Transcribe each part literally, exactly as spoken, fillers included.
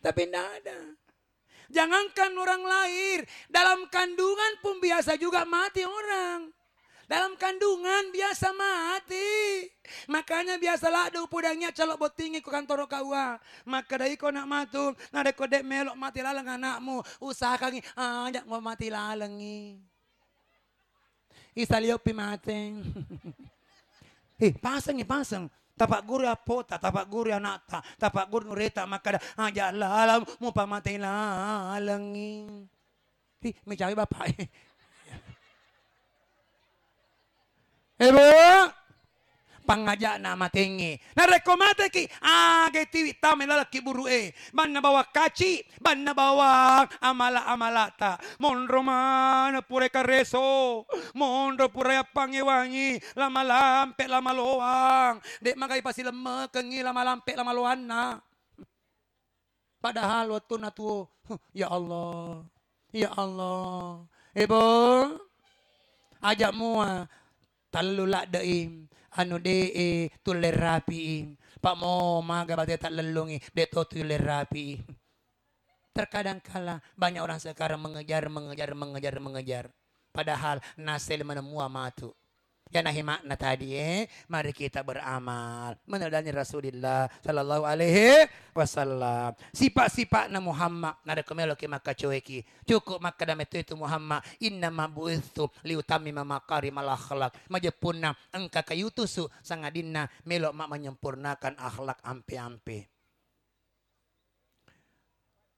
Tapi ndak ada. Jangankan orang lahir, dalam kandungan pun biasa juga mati orang. Dalam kandungan biasa mati. Makanya biasa ladde upodangngi calo bottingngi ko kantoro K U A. Makkeda iko nak matu, narekko dek melok mati laleng anakmu, usahakangngi aja mau mati lalengngi. Isaliopi mate. Eh, pasengngi, paseng. Tapagguru appota, tapagguru anakta, tapagguru nureta makkeda, aja lalang mupa mate lalengngi. Ih, mecawi bapak. Eh, Bu, pangaja'na matengngi. Narekko mateki, aga tiwi tama laleng kuburu e. Banna bawang kaci, banna bawang amala-amalata. Monro maneng pura kareso, monro pura yappangewangi, lama lampe, lama loang. Dek magai pasilemmekengngi lama lampe, lama loanna. Padahal wettunna tuo, huh, ya Allah, ya Allah. Eh, Bu, aja mua tallu ladde'i, anu de'e tulle rapi'i. Pak mo maga bate tallellungi, de' to tulle rapi'i. Terkadang kala banyak orang sekarang mengejar, mengejar, mengejar, mengejar. Padahal nasel menemua matu. Yana hi makna tadi, eh, mari kita beramal meneladani Rasulillah sallallahu alaihi wasallam. Sifat-sifatna Muhammad, narekko meloki makkacoeki, cukup makkeda metto itu Muhammad, "Innama bu'itsu liutammima makarimal akhlak." Majeppunna engka kaiutusu sangadinna melo ma menyempurnakan akhlak ampe-ampe.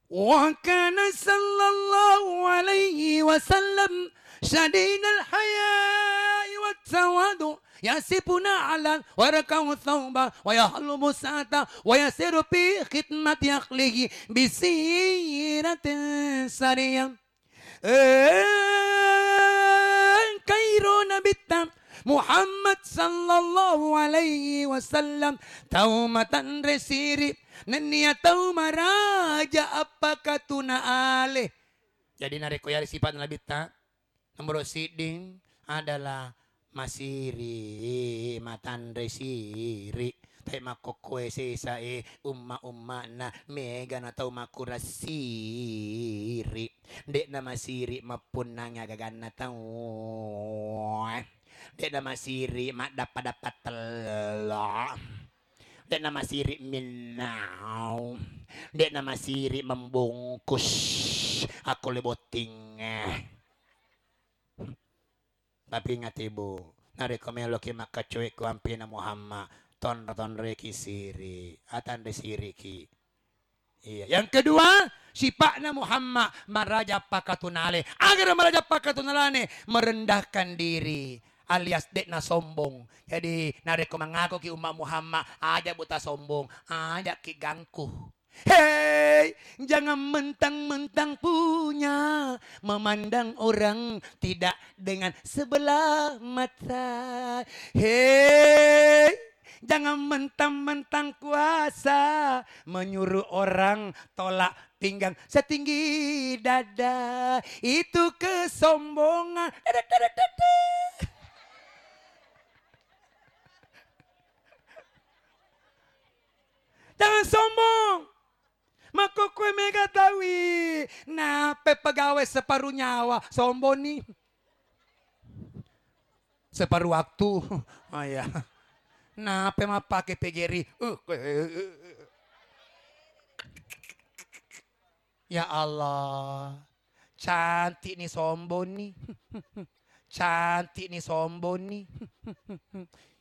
وكان صلى الله عليه وسلم شديد الحياء والتواضع، يصف نعلا ويركع ثوبا ويحلب ساعة ويسير في خدمة أهله بسيرة سرية. Eh, engkairo Nabitta Muhammad sallallahu alaihi wasallam tau matanre siri, nennia tau maraja appakatuna ale. Jadi narekko yari sifat Nabitta, nomor sidding adalah masiri, matanre siri. Tapi makkokkoe sesa e umma-ummana, mega na tau makurang siri. De'na masiri mappunnangi agaganna tau. De'na masiri maddappa-dappa tello. De'na masiri minnau. De'na masiri membungkus. Akko le botting. Tapi ingati, Bu, narekko meloki makkacoe ko ampina Muhammad, tonro-tonroki siri, atanre siriki. Iya. Yang kedua, sipa'na Muhammad maraja pakatunale. Agar maraja pakatunalane, merendahkan diri alias de'na sombong. Jadi, narekko mangakuki umma Muhammad, aja buta sombong, aja ki gangku. Hei, jangan mentang-mentang punya, memandang orang tidak dengan sebelah mata. Hei, jangan mentang-mentang kuasa, menyuruh orang tolak pinggang setinggi dada. Itu kesombongan. Dada, dada, dada. Jangan sombong. Makkokkoe mega taui. Nape pegawai separuh nyawa? Sombong ni. Separuh waktu. Oh iya. Nape mappake P G R I? Uh, ya Allah. Cantik ni sombong ni. Cantik ni sombong ni.